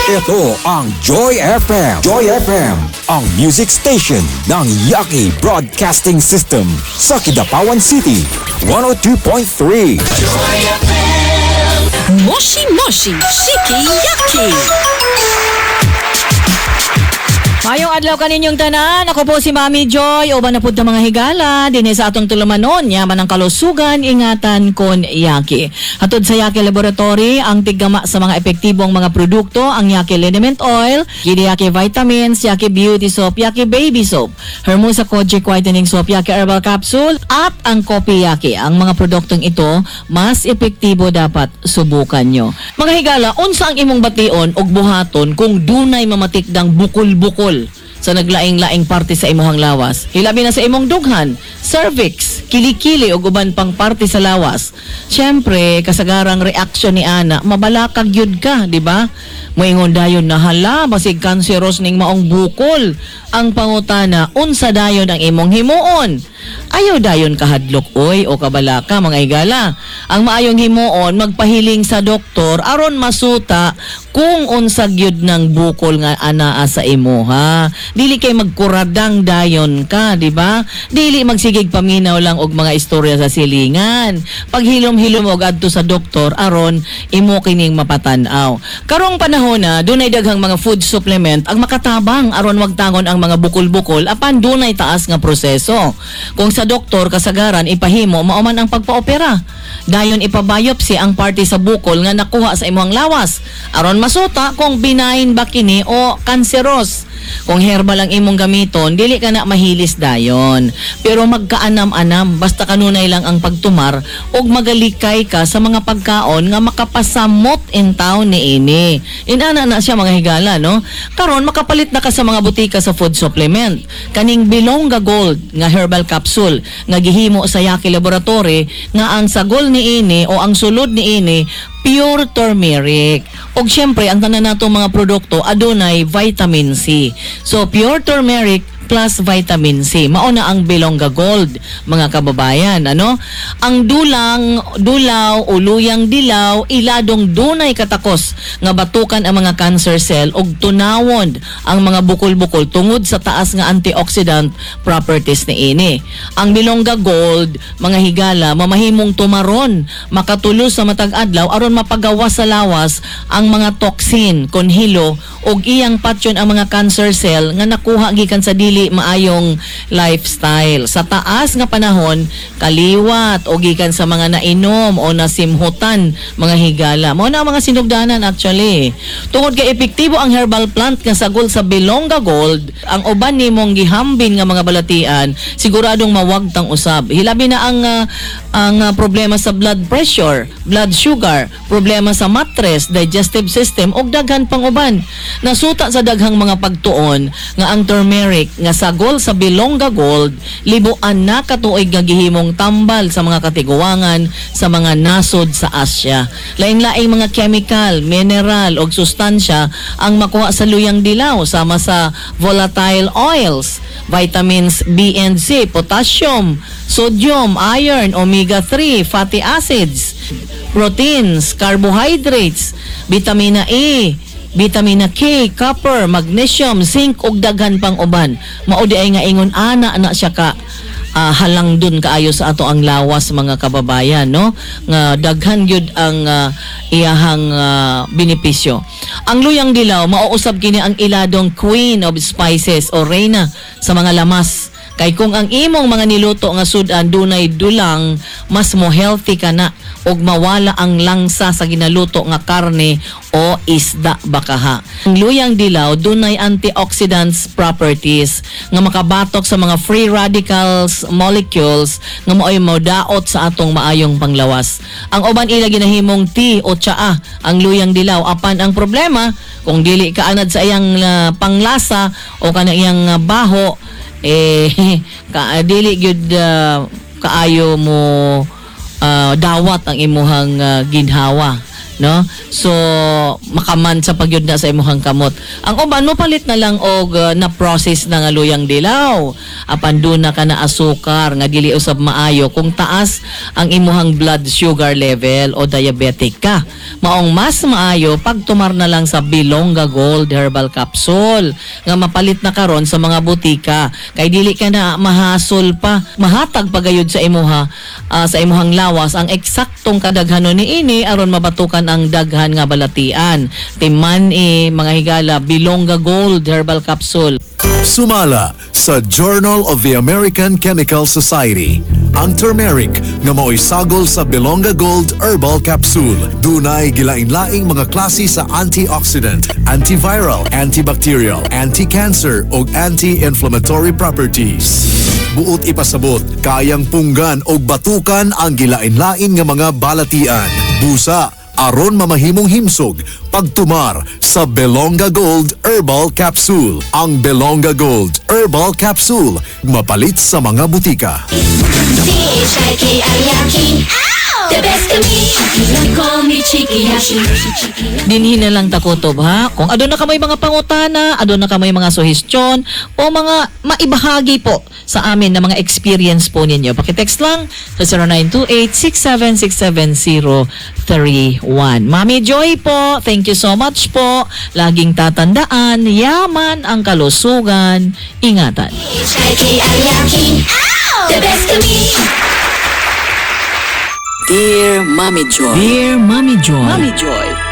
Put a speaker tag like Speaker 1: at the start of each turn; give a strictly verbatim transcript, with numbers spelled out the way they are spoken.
Speaker 1: Ito ang Joy F M. Joy F M, ang music station ng Yaki Broadcasting System sa Kidapawan City. one oh two point three.
Speaker 2: Moshi Moshi Shiki Yaki.
Speaker 3: Maayong adlaw kaninyong tanan. Ako po si Mami Joy. Uban na pud ta, mga higala dinhi sa atong tulumanon. Yaman ang kalusugan, ingatan kon Yaki. Hatod sa Yaki Laboratory, ang tiggama sa mga epektibong mga produkto, ang Yaki Liniment Oil, Kidi Yaki Vitamins, Yaki Beauty Soap, Yaki Baby Soap, Hermosa Kojic Whitening Soap, Yaki Herbal Capsule, at ang Kopi Yaki. Ang mga produktong ito, mas epektibo, dapat subukan nyo. Mga higala, unsa ang imong bation og buhaton kung dunay mamatikdang bukol-bukol sa naglaing-laing parte sa imuhang lawas? Hilabi na sa imong dughan, cervix, kilikili ug uban pang parte sa lawas. Siyempre, kasagarang reaksyon ni ana, mabalakag yun ka, di ba? Moingon dayon na hala, basig cancerous ning maong bukol. Ang pangutana, unsa dayon ang imong himuon? Ayaw dayon kahadlok oy o kabalaka, mga higala. Ang maayong himuon, magpahiling sa doktor aron masuta kung unsa gyud ng bukol nga anaa sa imo ha. Dili kay magkuradang dayon ka, di ba? Dili magsigig paminaw lang og mga istorya sa silingan. Paghilom-hilom og adto sa doktor aron imo kining mapatan-aw. Karong panahon na dunay daghang mga food supplement ang makatabang aron wagtangon ang mga bukol-bukol, apan dunay taas nga proseso. Kung sa doktor, kasagaran ipahimo mao man ang pagpaopera. Dayon ipabiopsy ang parte sa bukol nga nakuha sa imong lawas aron masuta kung benign ba kini o cancerous. Kung herbal ang imong gamiton, dili ka na mahilis dayon. Pero magkaanam-anam, basta kanunay lang ang pagtumar ug magalikay ka sa mga pagkaon nga makapasamot in town ni ini. Inana na siya, mga higala, no? Karon makapalit na ka sa mga butika sa food supplement. Kaning Bilongga Gold nga herbal capsule nga gihimo sa Yaki Laboratory, nga ang sagol ni ini o ang sulod ni ini pure turmeric. Og syempre, ang tanan natong mga produkto adunay vitamin C. So pure turmeric plus vitamin C. Mao na ang Bilongga Gold, mga kababayan, ano? Ang dulang, dulaw o luyang dilaw, iladong dunay katakos nga batukan ang mga cancer cell ug tunawon ang mga bukol-bukol tungod sa taas nga antioxidant properties ni ini. Ang Bilongga Gold, mga higala, mamahimong tumaron, makatulos sa matag adlaw aron mapagawas sa lawas ang mga toxin kon hilo ug iyang patyon ang mga cancer cell nga nakuha gikan sa dili maayong lifestyle. Sa taas nga panahon, kaliwat o gikan sa mga nainom o nasimhutan, mga higala. Mao na ang mga sinugdanan actually. Tungod kay epektibo ang herbal plant nga sagol sa Bilongga Gold, ang uban nimong gihambin nga mga balatian, siguradong mawagtang usab. Hilabi na ang ah, ang ah, problema sa blood pressure, blood sugar, problema sa mattress, digestive system ug daghan pang uban. Nasuta sa daghang mga pagtuon nga ang turmeric nga sagol sa Bilongga Gold, libuan na katuig nga gihimong tambal sa mga katiguangan sa mga nasod sa Asya. Laing-laing mga chemical, mineral ug sustansya ang makuha sa luyang dilaw sama sa volatile oils, vitamins B and C, potassium, sodium, iron, omega three fatty acids, proteins, carbohydrates, vitamina E, vitamina K, copper, magnesium, zinc ug daghan pang uban. Mao di ay nga ingon ana na siya ka ah, halang dun kaayo sa ato ang lawas, mga kababayan, no, nga daghan gyud ang ah, iyahang ah, benepisyo. Ang luyang dilaw, mauusab kini ang iladong queen of spices o reyna sa mga lamas. Kay kung ang imong mga niluto nga sudan dunay dulang, mas mo healthy ka na ug mawala ang langsa sa ginaluto nga karne o isda bakaha. Ang luyang dilaw dunay antioxidants properties nga makabatok sa mga free radicals molecules nga mao'y modaot sa atong maayong panglawas. Ang uban ila ginahimong tea o tsaa ang luyang dilaw, apan ang problema, kung dili ka anad sa iyang ah, panglasa o kana iyang ah, baho eh ka dili gyud ah, kaayo mo ah, dawat ang imuhang ah, ginhawa. no? So makaman sa pagyud na sa imuhang kamot. Ang uban mo palit na lang og uh, na process na nga luyang dilaw. Apan duna ka na asukar nga dili usab maayo kung taas ang imuhang blood sugar level o diabetic ka. Maong mas maayo pagtumar na lang sa Bilonga Gold Herbal Capsule nga mapalit na karon sa mga butika kay dili ka na mahasol pa, mahatag pagayod sa imuha ah, sa imuhang lawas ang eksaktong kadaghanon niini aron mabatukan ang daghan nga balatian. Timan eh, mga higala, Bilonga Gold Herbal Capsule.
Speaker 4: Sumala sa Journal of the American Chemical Society. Ang turmeric nga maoy sagol sa Belonga Gold Herbal Capsule. Dunay gilain-laing mga klase sa antioxidant, antiviral, antibacterial, anti-cancer ug anti-inflammatory properties. Buot ipasabot, kayang punggan og batukan ang gilain-lain nga mga balatian. Busa, aron mamahimong himsog pagtumar sa Belonga Gold Herbal Capsule. Ang Belonga Gold Herbal Capsule mapalit sa mga butika.
Speaker 2: C H I K I Yaki. The best of me. You call me Chiki Yashi.
Speaker 3: Dinhi na lang takutob ha. Kung aduna ka may mga pangutana, aduna ka may mga suhestyon o mga maibahagi po sa amin na mga experience po ninyo. Pakitext lang sa zero nine two eight, six seven six seven zero three one. Mami Joy po, thank you so much po. Laging tatandaan, yaman ang kalusugan. Ingatan.
Speaker 2: H I K I Yaki. The best of me.
Speaker 5: Dear Mommy Joy.
Speaker 3: Dear Mami Joy.
Speaker 5: Mommy Joy.